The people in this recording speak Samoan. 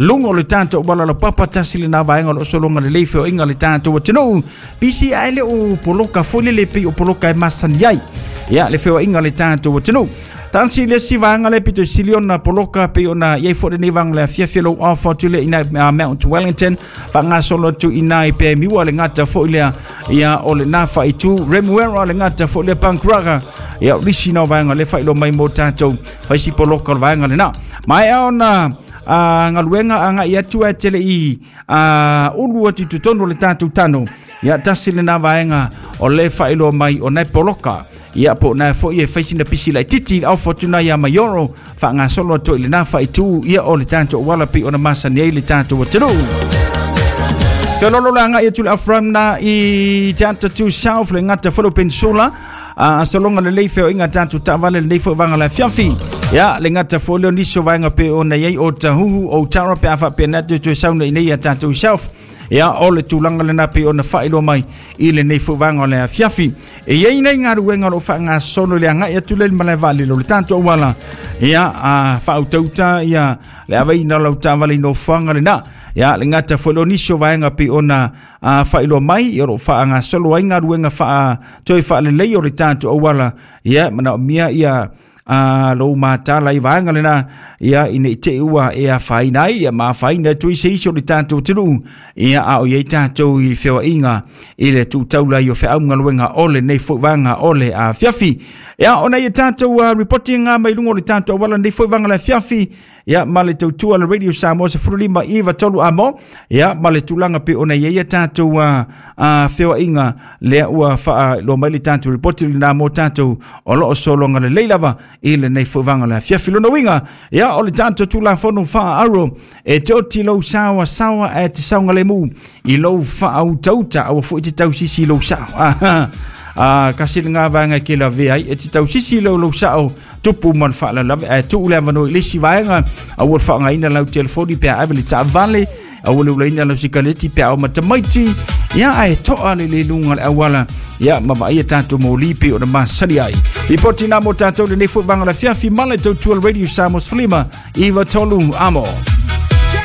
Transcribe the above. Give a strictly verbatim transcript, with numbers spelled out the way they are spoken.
Luga o le tatou auala laupapa tasi lena vaega o loo sologa lelei feoaiga le tatou atunuu. Pisi ae le o poloka foi lele pei o poloka e masani ai ia le feoaiga le tatou atunuu. Tasi le isi vaega le pito sili ona poloka pei ona iai foi lenei vaega le afiafi lou ofa atu le ina Mount Wellington faagasolo atu i ina i Pemiua le gata foi lea ia o lena faaitu Remuera le gata foi lea Pankraga ia o lisi na vaega le faailoa mai mo tatou faisi poloka o le vaega lena. Maea ona a galuega agai atu ae tele i a ulu atu i totonu o le tatou tano ia tasi lena vaega o le faailoa mai o nai poloka ia po na foi e faisi na pisi laititi le aufo atu ia Maioro faagasolo atu i lena faaitu ia o le tatou auala pei ona masani ai le tatou atunuu. Felolo le agai atu le Afram na i Teata tu South le gata foi le Peninsula a sologa lelei feoaiga tatou taavale lenei foi vaega le afiafi ia le gata foi lea o nisi o vaega pei ona i ai o Tahuhu o Tara pe a faapena atu toe sauna i nei ia tatou South ia o le tulaga lena pei ona faailoa mai i lenei foi vaega o le afiafi. E iai nei galuega o loo faagasolo i le agai atu lea i le malae vaalele o le tatou auala ia a faautauta ia le aveina o lau taavale i nofoaga lena ia le gata foi lea o nisi o vaega pei ona faailoa mai o loo faagasolo ai galuega faa toe faalelei o le tatou auala ia manaomia ia a lou matala i vaega lena ia ina i te i ua e afaina ai ia ma afaina atu ai se isi o le tatou atunuu ia a o i ai tatou i feoaiga i le tuutaula i o feaugaluega o lenei foi vaega o le afiafi. Ia ona ia tatou uh, reporting mai luga o le tatou auala lenei foi vaega le afiafi ia ma le tautua le Radio Samoa sefulu lima iva tolu amo ia ma le tulaga pe ona ia ia tatou uh, uh, feoaiga lea ua faailoa mai le tatou report lena mo tatou o loo sologa lelei lava i lenei foi vaega le afiafi. Lona uiga ia o le tatou Tulafono Faaaro e te oti lou saoa saoa ae te saogalemu i lou faautauta aua foi te tausisi i lou sao. A kasi le vaega ke lavea ai e te tausisi i lou lou sao tupu ma le faalavelave ae tuu le avanoa i le isi vaega aua le faaaogaina lau telefoni pe a ave le taavale aua le ulaina lau sikaleti pe a o matamaiti ia ae toa le le luga o le auala ia ma vaaia tatou moli pei ona masani ai. Ripoti na mo tatou lenei foi vaega o le afiafi ma le tautua le Radio Samoa sefulu lima iva tolu amo.